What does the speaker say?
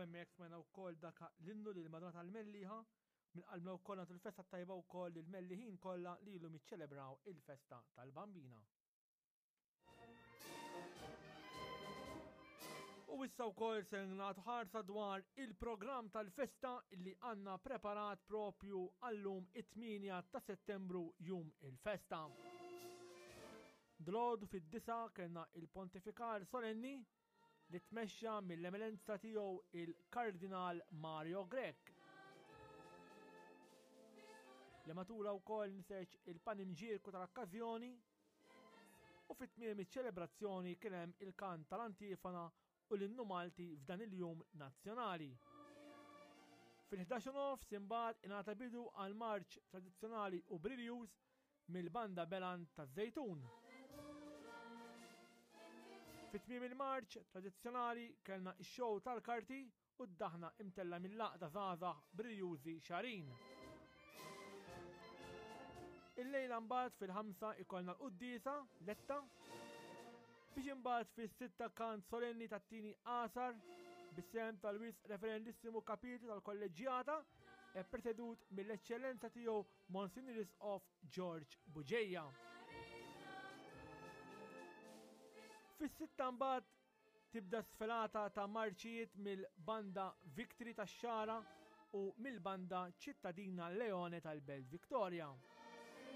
hemmhekk smajna wkoll dak l-innu lil Madonna tal-Melliħa. Minn qalbna wkoll nagħtu l-festa tajba wkoll lil Melliħin kollha li ilhom jiċċelebraw il-festa tal-Bambina. U issa wkoll se nagħtu ħarsa dwar il-programm tal-festa li għandna preparat propju għallum it-8 ta' Settembru jum il-festa. Dlod fid-disa kellna il-pontifikal solenni li tmexxa mill-Eminenza tiegħu il-Kardinal Mario Grech. Li matula wkoll nseġ il-panimġierku tal-okkażjoni u fit-tmiem iċ-ċelebrazzjoni kien hemm il-kant tal-antifona u l-innu Malti f'dan il-jum nazzjonali. Fil-11 nofs imbagħad ingħata bidu għal marċ tradizzjonali u briljuż mill-Banda Belan taż-Żejtun. Fi tmiem il-marċ tradizzjonali kellna x-show tal-karti u d-daħna imtella mill-għaqda żgħażagħ Brijużi Xarin. Illejla mbagħad fil-ħamsa ikollna l-quddiesa letta biex imbagħad fis-sitta kant solenni tat-tieni għasar bis-sehem tal-Wisq Referendissimu Kapitlu tal-Kolleġġjata e presedut mill-Eċċellenza tiegħu Monsignor Isqof George Bugeja. Fis-sitta mbagħad tibda sfelata ta' marċijiet mill-banda Victory tax-Xagħra u mill-banda Ċittadina Leone tal-Belt Victoria.